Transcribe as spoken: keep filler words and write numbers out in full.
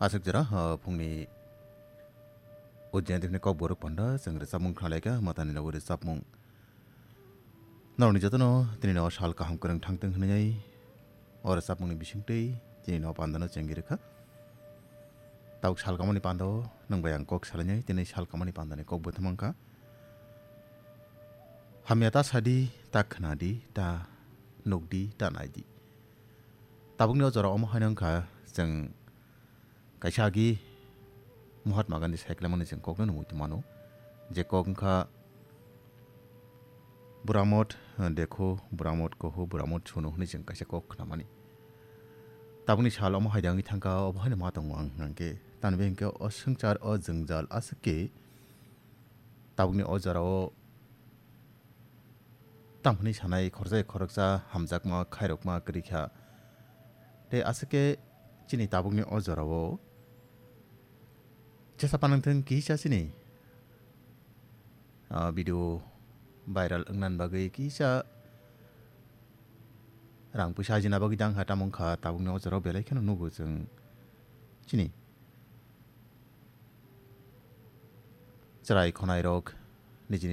Aswk jora, ah, phungni o jayantini kok borok panda chwng rwchapmung khnalaikha, matani logi rwchapmung. Norokni jotono tini no sal kaham kwrwng thangtwng hwnwi o rwchapmungni bisingtwi tini no pandano chengwi rwkha. Tabuk sal kamani panda o nwng bai ang kok salainai, tini sal kamani pandani kok bo thwmangkha. Hamya ta sadi, ta khnadi, ta nukdi, ta naidi. Tabukni o jora omo haino wngkha chwng kaisa agi Mahatma Gandhi saiklaimani chwng kokno nungwi tongmano. Je kok wngkha Buramot, eh, dekho, Buramot koho, Buramot suno hwnwi chwng kaisa kok khnamani. Tabukni sal omo haida wngwi thangkha, obo haino ma tongo ang hwnkhe. Tamni bagwi hwnkhe o swngchar, o jwngjal aswk khe tabukni o jorao tamo hwnwi sanai khoroksa khoroksa hamjakma khairokma kwrwi kha. Tei aswk khe chini tabukni o jorao jesa panangthwng kisa chini, ah, video viral wngnani bagwi kisa rang puisa ajina bagwi dang kha, tamo wngkha tabukni o jorao belai kheno nugo chwng chini chwrai khonairok nijini